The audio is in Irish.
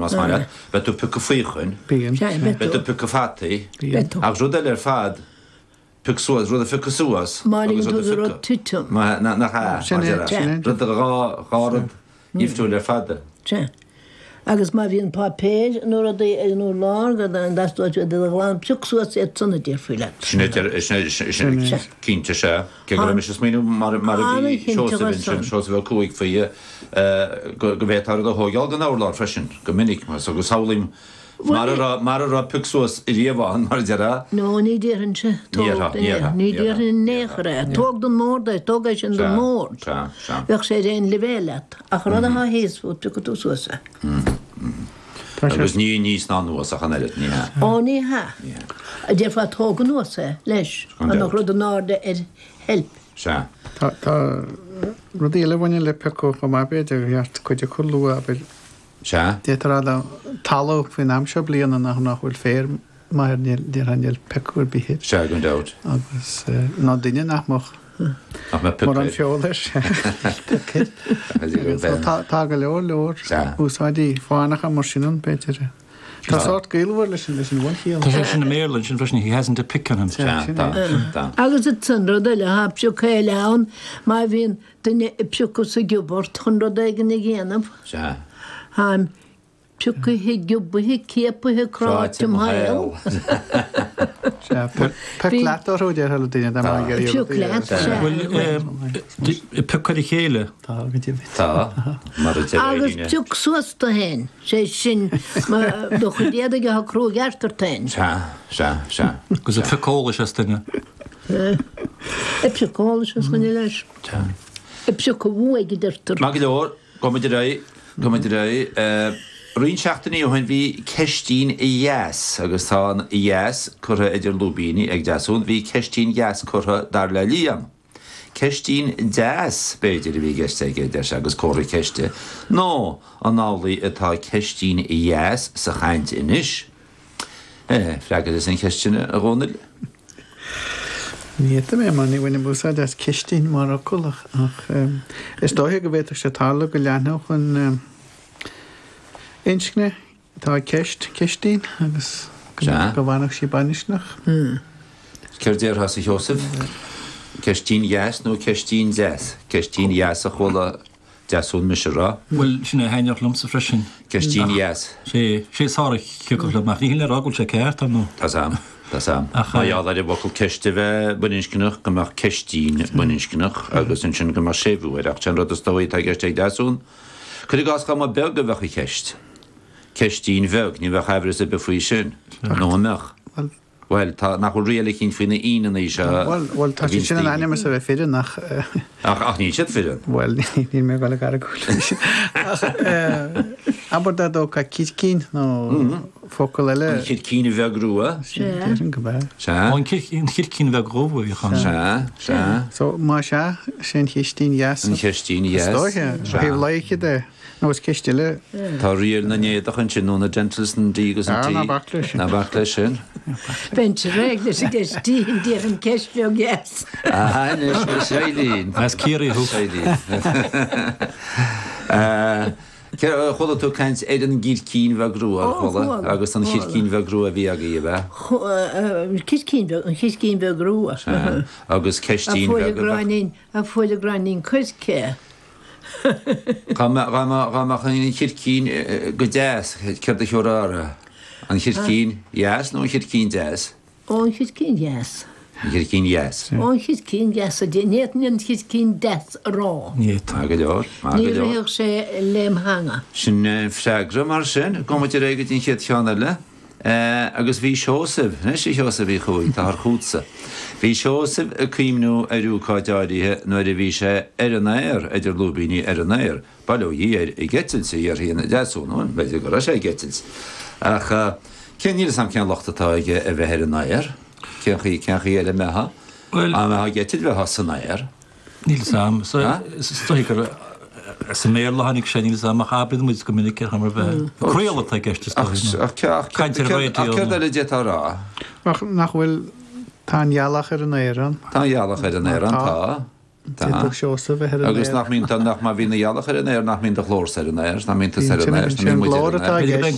Más maith leat, beidh tú ag piocadh faochain. Bíonn. Sea, beidh Beidh tú. tú ag piocadh fataí. Bíonn. Beidh tú. Ach rud eile ar fad, pioc suas, rud a phiocadh suas Má agus ligeann rud tú a do rud phiocadh. titim. Má, nach ea, Sin mar é, déarfá. sin é. Rud, dhá, dhá rud dhifriúil ar fad. Sea. Agus má bhíonn páipéir nó rudaí ar an urlár go dteastóidh uait iad a ghlanadh, pioc suas iad san a déarfaí leat. Sin é, sin é, sin é, cinnte, sea. Cé go raibh mise ag smaoineamh mar a bhí Seosamh ansin, Seosamh Ó Cuaig faoi go bhféadfá rud a thóigeáil den urlár freisin, go minic, mar so go samhlaím mar a raibh, mar a raibh pioc suas riamh ann, mar a déarfá. No, ní déarfainnse, tóg den aer, ní déarfainn in aon chor é, tóg den mbord é, tóg é sin den mbord, bheadh sé ar aon leibhéal leat, ach rud atá thíos fút, piocfaidh tú suas é. Agus ní aníos ná anuas ach an oiread, ní hea? Ó, ní hea. Déarfá tóg anuas é, leis, dá mbeadh rud in airde ar sheilp. Sea. Tá rudaí eile a bhaineann le piocadh chomh maith, b'fhéidir, ar cheart cuid acu a lua, abair. Sea. D'fhéadfá a rá dá talamh faoin am seo bliana nach nach bhfuil féar maith air, níl, déarfá níl piocadh ar bith air. Sea, gan dabht. Agus ná duine nach mbeadh. Nach mbeadh pioc Mórán air. feola air. Pioc air. Agus tá go leor leor úsáidí fánacha mar sin ann, b'fhéidir. Tá sórt gaolmhar leis an leis an bhunchiall. Tá sé sin i mBéarla ansin freisin, he hasn't a pick on him. Sea, tá, tá. Agus ansan rud eile, tá pioc eile ann, má bhíonn duine ag piocadh sa gciubart chun rud éigin a dhéanamh, Sea. táim Piocaithe, giobaithe, ciapaithe, cráite im shaol. Sea, pioc leat orthu, a déarfá le duine dá mbeadh ag iarraidh Pioc leat, sea. Bhuel, pioc ar a chéile. Tá, go deimhin. Tá, mar a deir Agus Eileen. pioc suas tú féin, sé sin, do chuid éadaigh atá cruaidh ceart ort féin. Sea, sea, sea. Agus ag piocadh eolais as duine. Ag piocadh eolais as dhuine leis. Sea. Ag piocadh uaidh, a deirtear. Maith go leor. Gabhfaidh muid ar aghaidh, gabhfaidh muid ar aghaidh. Roinnt seachtainí ó shin bhí ceistín dheas, agus tá an dheas curtha idir lúibíní ag Deasún, bhí ceistín dheas curtha, dar le Liam. Ceistín deas, b'fhéidir, a bhí i gceist aige, deir sé, agus comhartha ceiste. Nó an amhlaidh atá ceistín dheas sa chaint anois? Freagair an cheist sin, a Dhónaill. Ní fhéadfaidh mé mar ní bhainim úsáid as cistín mar fhocal ach is dóiche go bhféadfadh sé tarlú go leathnódh an inscne atá i gceist, cistín, agus go bhfanfadh sí baininscneach. Céard déarfása a Sheosaimh? Ceistín dheas nó ceistín deas? Ceistín dheas a chuala Deasún mise a rá. Bhuel, sin é a thaitneodh liomsa freisin. Ceistín dheas. Sé, sé is fearr a thiocfadh liom, ach ní hin le rá go bhfuil sé ceart, ar ndóigh. Tá's a'm, tá's a'm. Ach. Mar gheall ar an bhfocal ceist a bheith baininscneach, go mbeadh ceistín baininscneach agus ansin go mbeadh séimhiú air. Ach sé'n rud is dóigh atá i gceist ag Deasún. Cuir i gcás dá mba beag a bheadh i gceist. Ceistín bheag, ní bheadh aimhreas ar bith faoi sin. Nó an mbeadh? Bhuel. Bhuel, tá, nach bhfuil riail eicínt faoi na íneanna seo a Bhuel, bhuel, tá siad bhíonns sin in daoine. ainm is a bheith fireann ach. Ach, ach níl siad fireann. Bhuel, níl mé ag dul ag argóint leis sin. Ach abair dá dtógfá circín nó focal eile. An chircín bheag rua. Sea. Déarfainn go b'ea. Sea. Ó, an chircín bheag dhubh a bhíodh ann. Sea, sea. So, má sea, sé an chistín dheas. An chistín dheas. Is dóiche, ó thaobh loighce de. Nó is ceist eile. Tá riail na n-éadach ansin, nó na dentals, an D agus an T. Ah, ná bac leis sin. Ná bac leis sin. Bheinnse réidh leis an gceistín, déarfainn ceist bheag dheas. Ah, anois, a Eileen. As Ciarraí thú. Eileen. Chuala tú caint ar an gcircín bheag rua, ar chuala? Ó, chuala. Agus an chircín bheag rua a bhí agaibh, ab ea? Circín beag, an chircín bheag rua. Sea. Agus ceistín bheag a bheag. A fuair a gráinnín, a fuair a gráinnín coirce. Dá mbeadh an chircín go deas, céard a thiúrfá uirthi? An chircín dheas nó an chircín deas? Ó, an chircín dheas. An chircín dheas. Ó, an chircín dheas. Ní fhéadfainn an chircín deas a rá. Ní fhéadfá. Maith go leor, maith Ní go leor. rithfeadh sé lem theanga. Sin an freagra mar sin. Gabhfaidh muid ar aghaidh go dtí an chéad cheann eile. Agus bhí Seosamh, anois a Sheosaimh Uí Chuaig, táthar chughatsa. Bhí Seosamh ag cuimhniú ar ócáid áirithe nuair a bhí sé ar an aer, idir lúibíní ar an aer, bail ó Dhia air, ag eitilt, a déarfaidh an Deasún, bhuel, b'fhéidir go raibh sé ag eitilt. Ach cén, níl 'fhios a'm cén locht atá aige a bheith ar an aer, cén chaoi, cén chaoi eile a mbeifeá? Bhuel. Dá mbeifeá ag eitilt bheifeá san aer. Níl 'fhios a'm. Is dóigh gur as an mBéarla a tháinig sé, níl 'fhios a'm, ach abraíonn muid go minic ar chuma ar bith. Craoladh atá i gceist, is dóigh. Ach Caint ar raidió. Ach céard eile a d'fhéadfá a rá? Ach nach bhfuil, tá an ghealach ar an aer ann. Tá an ghealach ar an aer ann, tá. D'fhéadfadh Seosamh bheith ar an aer. Agus nach mbíonn, nach má bhíonn an ghealach ar an aer, nach mbíonn do ghlórsa ar an aer, nach mbíonn tusa ar an aer, nach mbíonn muid ar an aer.